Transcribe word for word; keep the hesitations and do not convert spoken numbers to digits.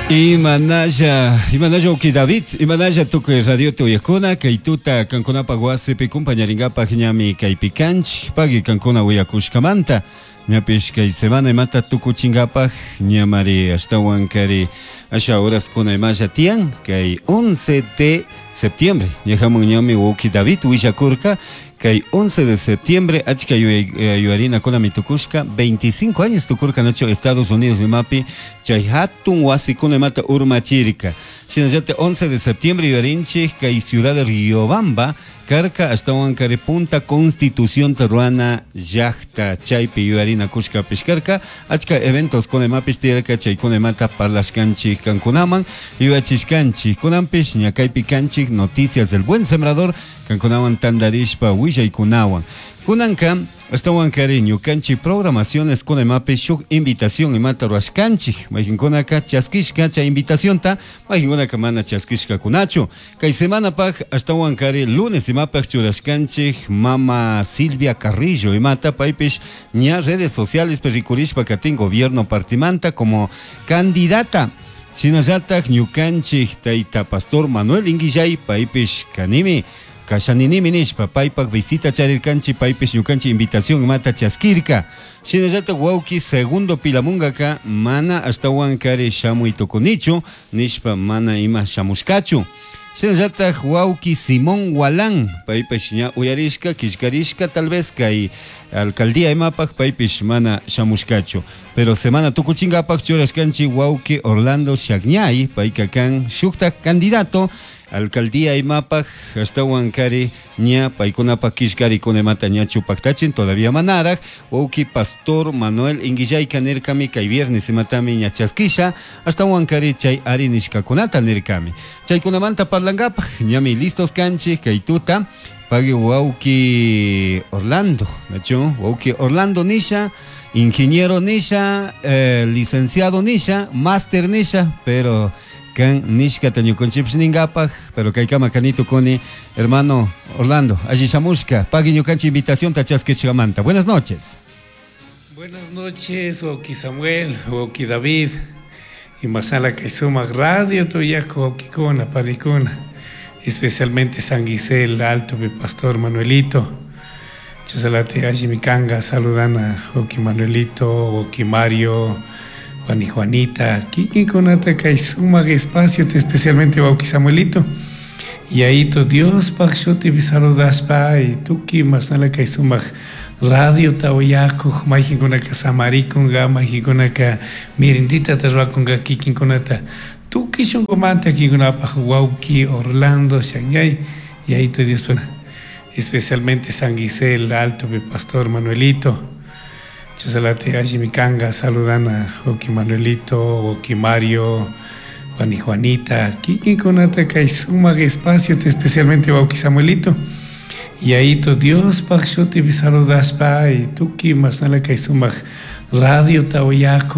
Imanalla, imanalla wawki David, imanalla tukuy radio uyakuna, kay tuta kankunapaq wasipi kumpañaringapaq ñami kaypi kanchik, pagui kankuna uyakushkamanta, ñapish kay semana imata tukuchinkapaq ñamari ashtawan kari asha horaskuna imalla tiyan, kay once de septiembre, ñajamun ñami wawki David willakurka, kay once de septiembre achka yuyarinakunami tukushka veinticinco años tukurka nacho Estados Unidos imapi chay hatun wasikuna imata urmachirka. Shinallata once de septiembre yuyarinchik kay ciudad de Riobamba karka ashtawan kari punta Constitución ruana llaqta chaypi yuyarinakushkapish karka achka eventos kuna imapish tiyarka chaykuna imata parlashkanchik kankunaman yuyachishkanchik kunanpish ña kaypi kanchik Noticias del Buen Sembrador kankunawan tandarishpa willaykunawan kunanka ashtawan kari ñukanchik programaciones kuna imapi shuk invitación imata ruwashkanchik mayqinkunaka chaskishka chay invitacionta mayqinkunaka mana chaskishkakunachu kay semanapaq ashtawan kari lunes imapaq churashkanchik mama Silvia Carrillo imata paypish ña redes sociales rikurishpa katin gobierno partimanta como candidata. Shinallatak ñukanchik tayta pastor Manuel Inguillay paypish kanimi kashaninimi nishpa paypak visita charirkanchik paypish ñukanchik invitación imata chaskirka. Shinallatak wawki Segundo Pilamungaka mana ashtawan kari shamuy tukunichu nishpa mana ima shamushkachu. Shinallatak wawki Simón Walán paypish ña uyarishka killkarishka tal vez kay alcaldía imapaq paypish mana shamushkachu. Pero semana tukuchinkapaq churashkanchik wawki Orlando Shagñay payka kan shuktak candidato alcaldía imapaq ashtawan kari ña paykunapak killkarikuna imata ña chupaktachin todavía manaraq wawki pastor Manuel Inguillayka nirkami kay viernes imatami ña chaskisha ashtawan kari chay ari nishkakunata nirkami chaykunamanta parlankapaq ñami listos kanchik kay tuta pagui wawki Orlando nachu wawki Orlando nisha ingeniero nisha eh, licenciado nisha máster nisha pero kan nishkata ñukanchikpish ninkapaq pero kaykama kanito kuni hermano Orlando alli shamushka pagui ñukanchik invitación ta chaskishkamanta. Buenas noches. Buenas noches, wawki Samuel, wawki David y masala kay sumaq radio tuyaku wawkikuna panikuna, especialmente San Gisel Alto mi pastor Manuelito. Chasalate allimi kanga saludana wawki Manuelito, wawki Mario, pani Juanita, kikinkunata kay sumaq espacio, especialmente wawki Samuelito. Y ahí to Dios pak shutipi saludashpa y tuki masnala kay sumaq radio tawayakuq mayqinkunaka samarikunqa mayqinkunaka mirindita ruwakunqa kikinkunata tukuy shunqumanta kikinkunapaq wawki Orlando Shangay y ahí to Dios especialmente San Gisel Alto mi pastor Manuelito. Chasalate allimi kanga saludana wawki Manuelito, wawki Mario, pani Juanita, kikinkunata kay sumaq espacio, especialmente wawki Samuelito. Y ahí to Dios pak shutipi saludashpa y tukuy masnala kay sumaq radio tawayakuq.